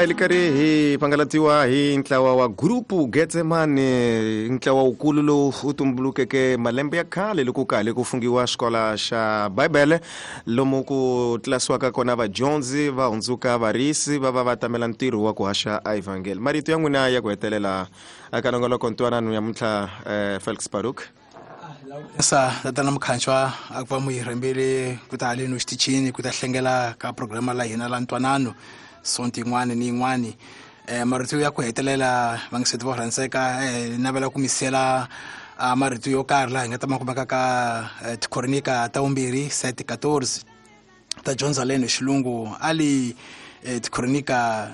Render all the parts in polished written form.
A yi karhi hi pangalatiwa hi ntlawa wa Grupo Getsemane, ntlawa wukulu lowu wu tumbulukeke malembe ya khale loko ka ha ku fungiwa xikola xa Bibele, lomu ku tlilasiwaka kona vadyondzi va hundzuka varisi va va va tamela ntirho wa ku haxa a evhangeli. Marito ya n'wina ya ku hetelela eka nongoloko ntwanano yamuntlha, Felix Baruk. Sa tatana Mukhanchwa, a ku va mu hi rhambele ku ta haleni xitichini ku ta hlengela ka programa la hina la ntwanano sonto yin'wana ni yin'wana. Marito ya ku hetelela, vangiseti vo rhandzeka, navela ku mi siyela marito yo karhi laha hi nga ta ma kumeka ka Tikronika ta vumbirhi 7:14 ta dyondza leno xilungu ali Tikronika: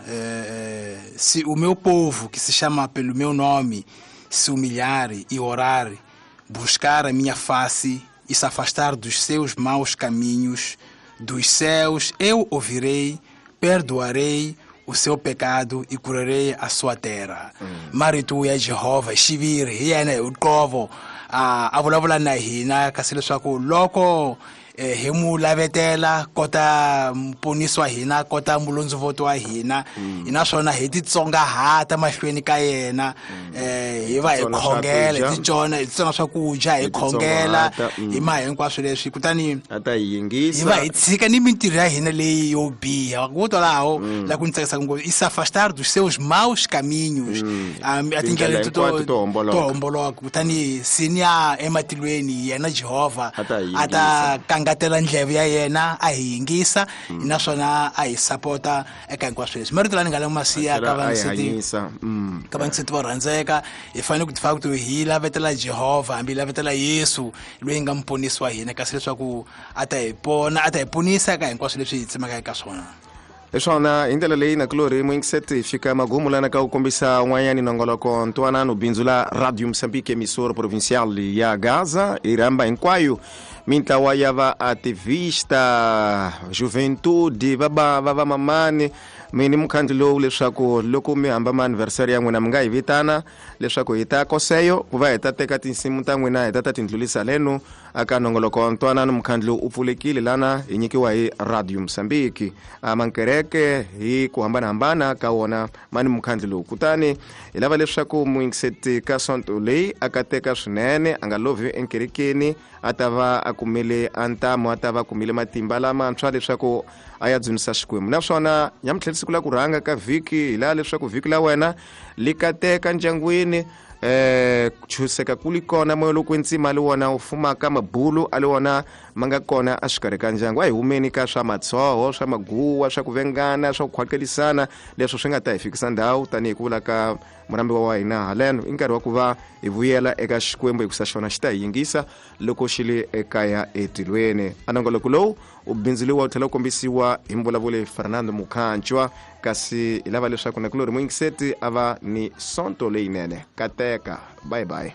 "Se o meu povo que se chama pelo meu nome se humilhar e orar, buscar a minha face e se afastar dos seus maus caminhos, dos céus eu ouvirei, perdoarei o seu pecado e curarei a sua terra." Marito ya Jehova xiviri hi yena hi uqovo a vulavula na hina, kasi leswaku loko hi mu lavetela kota muponisi wa hina, kota mulondzovoto wa hina, naswona hi titsongahata mahlweni ka yena, hi va hi Titsona khongela, swakudya. hi titsona, hi titsona swakudya, hi Hi khongela, titsongahata, hi ma hinkwaswo leswi, kutani a ta hi yingisa, hi va hi tshika ni mintirho ya hina leyi yo biha vo twalaho la ku ni tsakisaka ngopfu, "e se afastar dos seus maus caminhos", a tindlela Tindlela leti hinkwato to homboloka. To homboloka, kutani siniya ematilweni yena Jehovha A ta hi a ta kangatela ndleve ya yena, a hi yingisa, naswona a hi sapota eka hinkwaswo leswi. Marito lawa ni nga la ma siya ka Tlhela a hi vangiseti hanyisa. Ka vangiseti vo rhandzeka, hi fanele ku tifaka ku hi lavetela Jehovha, hambi hi lavetela Yesu loyi nga muponisi wa hina, kasi leswaku a ta hi pona, a ta hi ponisa eka hinkwaswo leswi hi tsemaka eka swona. Hi swona, hi ndlela leyi nakulorhi muyingiseti hi fika magumu lana ka ku kombisa un'wanyani nongoloko ntwanano, bindzu la Radio Mozambique, emissora provincial ya Gaza. Hi rhamba hinkwayo mintlawa ya va-ativista, juventude, va bava, va mamani mi ni mukhandlu lowu, leswaku loko mi hamba ma-anniversary ya n'wina mi nga hi vitana leswaku hi ta koseyo ku va hi ta teka tinsimu ta n'wina, hi ta ta tindlulisa leno aka nongoloko wa ntwanano. Mukhandlu u pfulekile lana hi nyikiwa hi Radio Mozambique. A mankereke hi ku hambanahambana ka wona ma ni mukhandlu lowu, kutani hi lava leswaku muyingiseti ka sonto leyi a kateka swinene, a nga lovhi enkerekeni, a ta va a kumile a ntamu, a ta va a kumile matimba lamantshwa leswaku a ya dzunisa Xikwembu. Naswona nyamutlhela siku la ku rhanga ka vhiki, hi laha leswaku vhiki la wena li kateka ndyangwini, chuseka ku li kona, moya lowu kwetsima li wona wu fumaka, mabulu a li wona ma nga kona a xikarhi ka ndyangu. A hi humeni ka swa matshoho, swa maguwa, swa ku vengana, swa ku khwakelisana, leswo swi nga ta hi fikisa ndhawu. Tanihi ku vula ka murambiwa wa hina haleno, i nkarhi wa ku va hi vuyela eka Xikwembu, hikusa xona xi ta hi yingisa loko xi le ekaya etilweni. A nongoloko lowu u bindzuriwa wu tlhela wu kombisiwa hi mvulavuli Fernando Mukhanchwa, kasi hi lava leswaku nakulorhi muyingiseti a va ni sonto leyinene. Kateka, bye bye.